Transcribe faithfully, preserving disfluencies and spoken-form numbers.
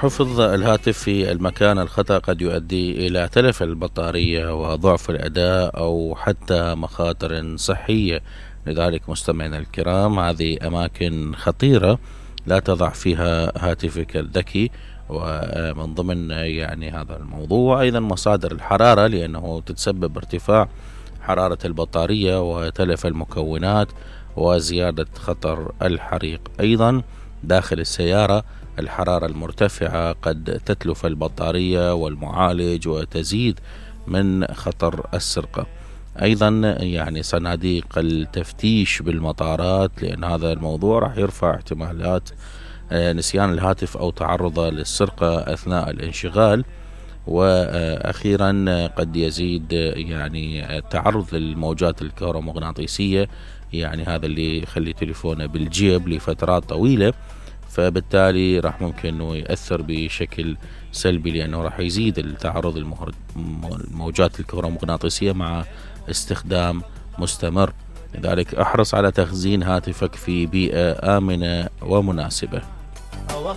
حفظ الهاتف في المكان الخطأ قد يؤدي إلى تلف البطارية وضعف الأداء أو حتى مخاطر صحية. لذلك مستمعينا الكرام، هذه أماكن خطيرة لا تضع فيها هاتفك الذكي. ومن ضمن يعني هذا الموضوع أيضا مصادر الحرارة، لأنه تتسبب ارتفاع حرارة البطارية وتلف المكونات وزيادة خطر الحريق. أيضا داخل السيارة الحرارة المرتفعة قد تتلف البطارية والمعالج وتزيد من خطر السرقة. أيضا يعني صناديق التفتيش بالمطارات، لأن هذا الموضوع راح يرفع احتمالات نسيان الهاتف أو تعرضه للسرقة أثناء الانشغال. وأخيرا قد يزيد يعني التعرض للموجات الكهرومغناطيسية، يعني هذا اللي يخلي تليفونه بالجيب لفترات طويلة، فبالتالي راح ممكن انه يأثر بشكل سلبي، لأنه راح يزيد التعرض للموجات الكهرومغناطيسية مع استخدام مستمر. لذلك احرص على تخزين هاتفك في بيئة آمنة ومناسبة.